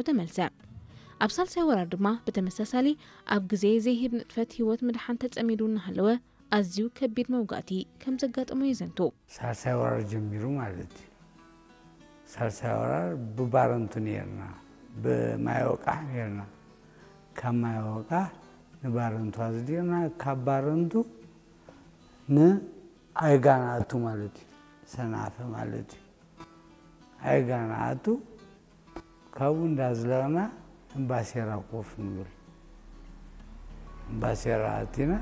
ተመልሰ። ኣብ ሳልሳይ ወራር ድማ ብተመሳሳሊ ኣብ ግዜ ዘይህብ ንጥፈት ህይወት ምድሓን ተጸሚዱ እናሃለወ ኣዝዩ ከቢድ መውጋእቲ ከም ዘጋጠሞ የዘንቱ። ሳልሳይ ወራር ጀሚሩ ማለት እዩ። ሳልሳይ ወራር ብባረንቱ ነርና፣ ብማይ ወቃሕ ነርና። ካብ ማይ ወቃሕ ንባረንቱ ኣዝዲቕና፣ ካብ ባረንቱ ንኣይጋ ንኣቱ ማለት እዩ። ሰናፈ ማለት እዩ። ኣይጋ ንኣቱ፣ ካብኡ እንዳዝለቕና እምባሴራ ኮፍ ንብል። እምባሴራ ኣቲና፣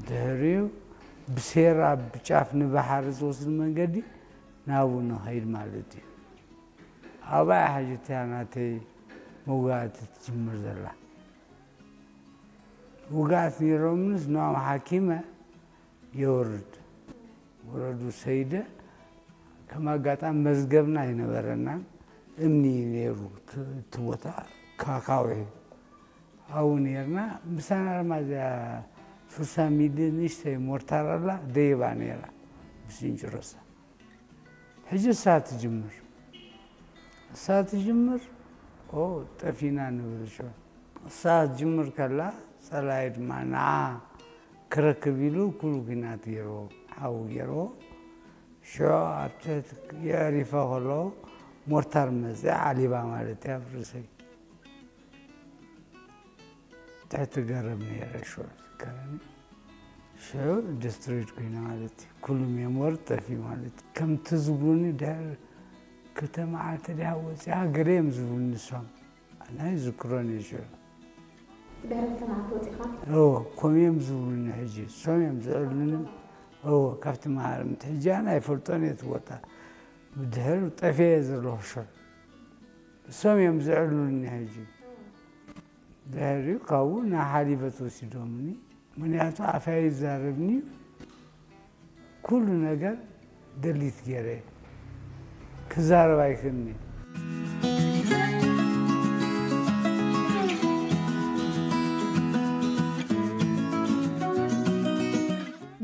ድሕሪኡ ብሴራ ብጫፍ ንባሕሪ ዝወስድ መንገዲ ናብኡ ንኸይድ ማለት እዩ። ኣብኣ ሕጂ እቲኣ ናተይ መውጋእቲ ትጅምር ዘላ። ውግኣት ነይሮምንስ ንኦም ሓኪመ የውርድ። ወረዱ ሰይደ፣ ከም ኣጋጣሚ መዝገብና ኣይነበረናን፣ እምኒ ነይሩ እቲ፣ እቲ ቦታ ካካውሒ። ኣብኡ ነርና፣ ምሳና ድማ እዚኣ ሱሳ ሚሊ ንእሽተይ ሞርታር ኣላ፣ ደይባ ነይራ፣ ብስንጭሮሳ። ሕጂ እሳ ትጅምር። እሳ ትጅምር፣ ኦ፣ ጠፊና ንብል ሽዑ። እሳ ትጅምር ከላ፣ ጸላኢ ድማ ንዓ ክረክብ ኢሉ ኩሉ ኲናት ገይርዎ፣ ሓዊ ገይርዎ። ሽዑ ኣብ ትሕቲ የዕሪፈ ከሎ፣ ሞርታር መጽያ ዓሊባ ማለት እያ ኣብ ርእሰይ። ትሕቲ ገረብ ነይረ ሽዑ ዝከረኒ። ሽዑ ዲስትሮይድ ኮይነ ማለት እዩ። ኩሉ ሜሞሪ ጠፊኡ ማለት እዩ። ከምቲ ዝብሉኒ ድሕሪ ክልተ መዓልቲ ድያ ወፂኣ ገለ እዮም ዝብሉኒ ንሶም። ኣነ ኣይዝክሮን እየ ሽዑ። ድሕሪ ክልተ መዓልቲ ወፂኻ? እዎ፣ ከምኡ እዮም ዝብሉኒ ሕጂ። እሶም እዮም ዝዕሉኒ። እዎ፣ ካብቲ መሃርምቲ። ሕጂ ኣነ ኣይፈልጦን እየ እቲ ቦታ። ብድሕሪ ጠፍየ እየ ዘለኹ ሽዑ። እሶም እዮም ዝዕሉኒ ሕጂ። ድሕሪኡ ካብኡ ናብ ሓሊበት ወሲዶምኒ። ምኽንያቱ ኣፈይ ይዛረብኒ እዩ። ኩሉ ነገር ደሊት ገይረ ክዛረብ ኣይክእልን እየ።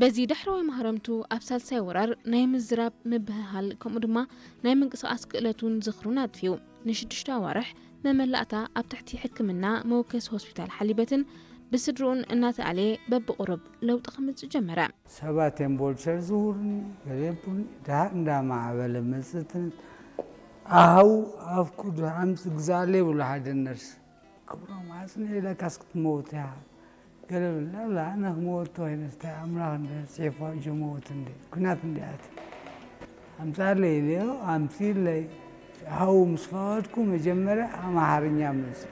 በዚ ዳሕረዋይ ማህረምቱ ኣብ ሳልሳይ ወራር ናይ ምዝራብ፣ ምብህሃል፣ ከምኡ ድማ ናይ ምንቅስቓስ ክእለቱን ዝኽሩን ኣጥፊኡ። ንሽዱሽተ ኣዋርሕ መመላእታ ኣብ ትሕቲ ሕክምና መወከሲ ሆስፒታል ሓሊበትን ብስድርኡን እናተኣልየ በብቑሩብ ለውጢ ከምጽእ ጀመረ። ሰባት እዮም ቦልቸር ዝውርኒ፣ ገለ የብሉኒ። ድሓር እንዳማዕበለ መጽእትን ኣሃው ኣፍኩ ድሓምስ ግዛለ ይብሉ ሓደ ነርስ። ክብሮም ኣጽንዕ ኢለካስ ክትመውት እያ። ገለ ብላ፣ ላ፣ ኣነ ክመወት ተባሂለስ እንታይ ኣምላኽ እንደ ጽሒፉ ኣጆ መወት እንደ፣ ኲናት እንደ ኣትየ። ኣምጻለይ ኢለዮ፣ ኣምጺእለይ። ሃው ምስ ፈቐድኩ መጀመርያ ኣምሓርኛ መጽኡ።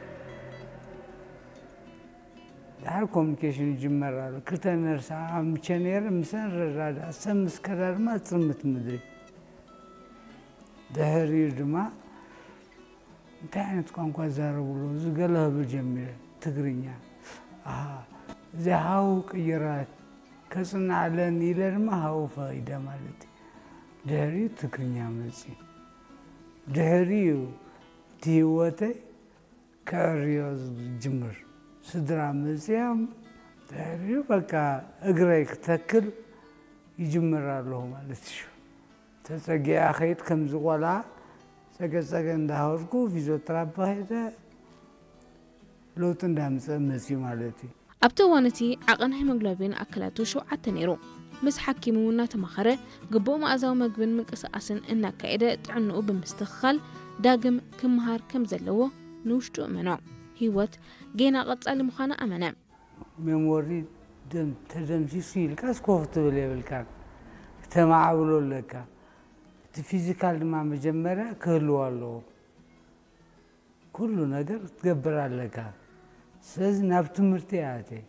ድሓር ኮሙኒኬሽን ይጅመር ኣሎ። ክልተ ነርስ ኣምቸ ነይረ፣ ምሰን ረዳድኣ። ሰብ ምስ ከዳ ድማ ጽልምት ምድሪ። ድሕሪኡ ድማ እንታይ ዓይነት ቋንቋ ይዛረቡ ኣለዉ? እዚ ገለ ክብል ጀሚረ። ትግርኛ። ኣሃ፣ እዚ ሃው ቅይራት ከጽንዓለን ኢለ ድማ ሃው ፈቒደ ማለት እዩ። ድሕሪኡ ትግርኛ መጽዩ። ድሕሪኡ እቲ ህይወተይ ከዕርዮ ዝጅምር። ስድራ መጽዮም ድሕሪኡ በቃ እግረይ ክተክል ይጅምር ኣለኹ ማለት እዩ። ተጸጊኣ ኸይድ ከምዚ ቆልዓ ጸገጸገ እንዳሃወርኩ ፊዚዮተራፒ ኸይደ ለውጢ እንዳምጸ መጽዩ ማለት እዩ። ኣብቲ እዋን እቲ ዓቐን ሄሞግሎቢን ኣካላቱ ሸውዓተ ነይሩ። ምስ ሓኪሙ እናተማኸረ ግቡእ መኣዛዊ መግብን ምንቅስቓስን እናካየደ ጥዕንኡ ብምስትኽኻል ዳግም ክምሃር ከም ዘለዎ ንውሽጡ እመኖ። ህይወት ጌና ቀጻሊ ምዃና ኣመነ። ሜሞሪ ደም-፣ ተደምሲሱ ኢልካስ ኮፍ ትብል የብልካን። ክተማዕብሎ ኣለካ። እቲ ፊዚካል ድማ መጀመርያ ክህልዎ ኣለዎ። ኩሉ ነገር ክትገብር ኣለካ። ስለዚ ናብ ትምህርቲ እየ ኣትየ።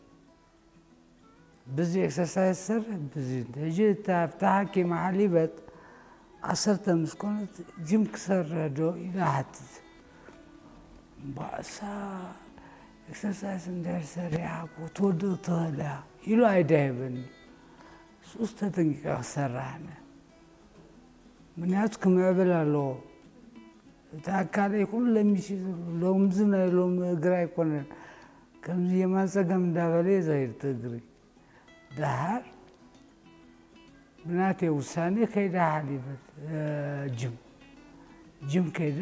ብዚ ኤክሰርሳይዝ ዝሰርሕ፣ ብዚ ሕጂ እታ ኣብታ ሓኪም ሓሊበት ዓሰርተ ምስ ኮነት ጅም ክሰርሕ ዶ ኢላ ሓትት። እምበኣሳ ኤክሰርሳይዝ እንድሕር ሰሪሓ እኮ ትወድቕ ትኽእል እያ ኢሉ ኣይዳይበኒ። ንሱስ ተጠንቂቐ ክሰርሕ ኣነ። ምኽንያቱ ክምዕብል ኣለዎ። እቲ ኣካለይ ኩሉ ለሚሱ እዩ ዘሎ። ሎምዚ ናይ ሎሚ እግሪ ኣይኮነን። ከምዚ የማን ጸጋም እንዳበለ እዩ ዝኸይድ እቲ እግሪ። ደሓር ብናተይ ውሳኔ ከይደ ሓሊበት፣ እ፣ ጅም። ጅም ከይደ